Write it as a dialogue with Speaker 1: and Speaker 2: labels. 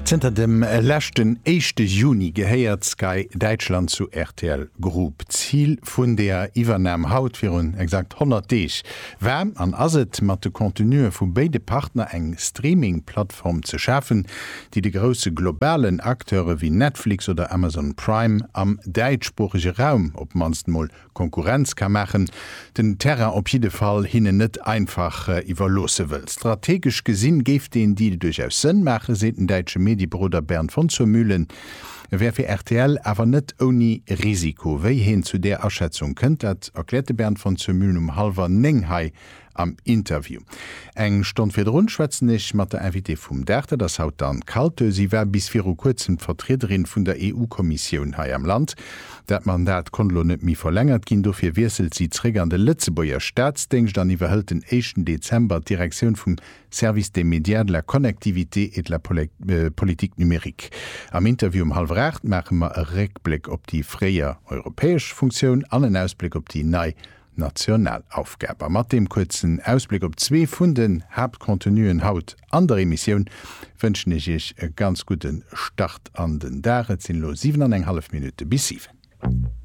Speaker 1: Zënter dem leschten éischte Juni gehéiert Sky Däitschland zu rtl Group. D'Zil vun deeër Iwwernam haut virun exakt 100 Deeg war an ass et, mat de Contenue vu béide Partner eng Streaming-Plattform ze schafen, déi de grousse globalen Acteure wéi Netflix oder Amazon Prime am däitschsproochege Raum op d'mannst mol Konkurrenz ka maachen, den Terrain op jidde Fall hinnen net einfach iwwerloosse wëll. Strategesch gesinn géif deen Deal duerchaus Sënn maachen, seet den däitsche Medieberoder Bernd von zur Mühlen. E wär fir rtl awer net ouni Risiko. Wéi heen zu där Aschätzung kënnt, dat erkläert de Bernd von zur Mühlen um hallwer 9 hei am Interview. Eng Stonn virdrun schwätzen ech mat der Invitée vum Dag, dat ass haut d'Anne Kaltö. Si war bis viru kuerzem d'Vertriederin vun der EU-Kommissioun hei am Land. Dat Mandat konnt elo net méi verlängert ginn, dofir wiesselt si zréck an de Lëtzebuerger Staatsdéngscht an iwwerhëlt den éischten Dezember d'Direktioun vum Service des médias, de la connectivité et de la politique numérique. Am Interview um hallwer 8 maache mer e Réckbléck op déi fréier europäesch Funktioun an en Ausbléck op déi nei national Aufgab. A mat deem kuerzen Ausbléck op zwee vun den Haaptcontenuen haut an der Emissioun wënschen ech Iech e ganz gudde Start an den Dag. Et sinn elo 7 an eng hallef Minutte bis 7.